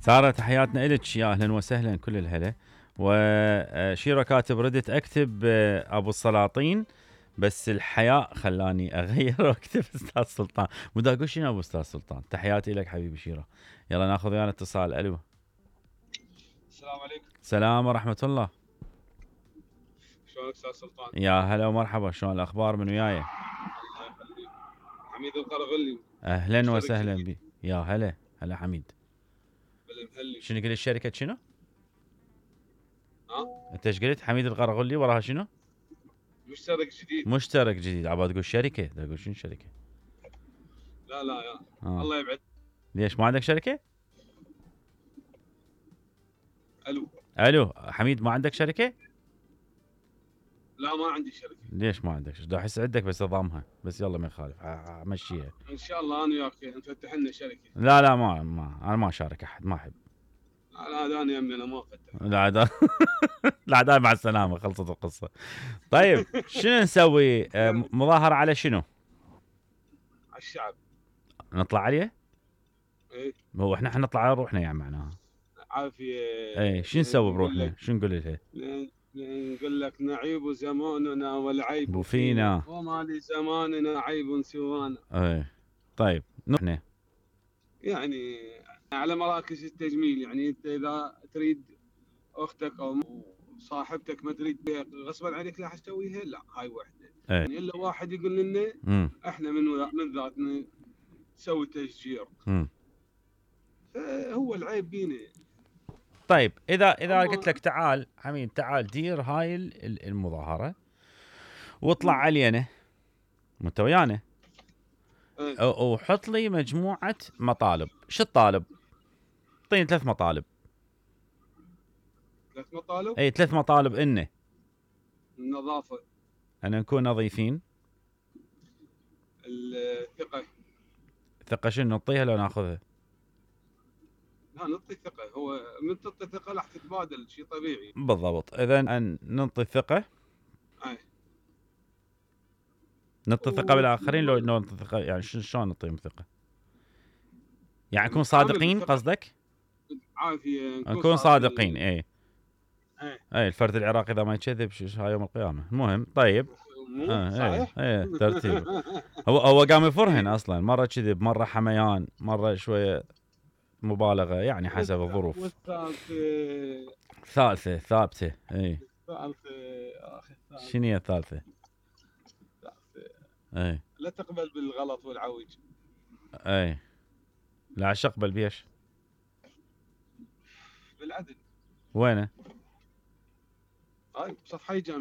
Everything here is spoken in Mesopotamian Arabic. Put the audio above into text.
سارة تحياتنا إلك، يا أهلا وسهلا كل الهلا. وشيرة كاتب ردت أكتب أبو السلاطين بس الحياء خلاني أغير وأكتب أستاذ سلطان. مو أقول شنو أبو أستاذ سلطان. تحياتي لك حبيبي شيرة. يلا ناخذ ويانا اتصال. ألو. السلام عليكم. السلام ورحمة الله. شلونك أستاذ سلطان؟ يا هلا ومرحبا، شلون الأخبار من وياي؟ الله يخليك. حميد القرغلي. أهلا وسهلا بي. يا هلا هلا حميد. بالمهلي. شنو قلت شركة شنو؟ ها؟ أنت ايش قلت؟ حميد القرغلي وراها شنو؟ مشترك جديد. مشترك جديد. عباد تقول شركة، تقول شنو شركة؟ لا يا الله يبعد. ليش ما عندك شركة؟ الو حميد ما عندك شركة؟ لا ما عندي شركة. ليش ما عندك؟ دا احس عندك بس اضامها، بس يلا ما يخالف امشيها. ان شاء الله انا وياك نفتح لنا شركة. لا ما انا ما اشارك احد، ما احب. لا انا يمي انا ما افتح. لا مع السلامة، خلصت القصة. طيب شنو نسوي؟ مظاهرة على شنو؟ على الشعب. نطلع عليه؟ ايه هو احنا حنطلع على روحنا يعني معناها. عافية. ايه شو نسوي بروحنا؟ شو نقول لها؟ نقول لك نعيب زماننا والعيب فينا وما لزماننا عيب سوانا. ايه طيب نحن يعني على مراكز التجميل، يعني انت اذا تريد اختك او صاحبتك ما تريد بها غصبا عليك راح تسويها، لا هاي وحده. ايه. يعني الا واحد يقول لنا احنا من ذاتنا نسوي تشجير. فهو العيب بينا. طيب اذا قلت لك تعال حميد، تعال دير هاي المظاهرة واطلع علينا وانت ويانا وحط لي مجموعة مطالب. شو الطالب؟ اعطيني 3 مطالب. 3 مطالب؟ اي 3 مطالب. انه النظافة، ان نكون نظيفين، الثقة شنو نعطيها لو ناخذها؟ لا نعطي الثقة. هو من تعطي الثقة راح تتبادل، شيء طبيعي. بالضبط. اذا ان نعطي الثقة. نعطي الثقة بالاخرين. لو نعطي الثقة يعني شلون نعطيهم ثقة؟ يعني نكون صادقين قصدك؟ عافية نكون صادقين. اي الفرد العراقي اذا ما يكذب هاي يوم القيامة. المهم طيب. صحيح. ترتيب. هو قام يفرهن اصلا، مرة كذب، مرة حميان، مرة شوية مبالغة، يعني حسب الظروف. والثالثة ثابتة. اي شنو هي الثالثة؟ اي لا تقبل بالغلط والعوج. اي لا عش اقبل بيش؟ بالعدل. وينه؟ هاي بصفحة جامعة.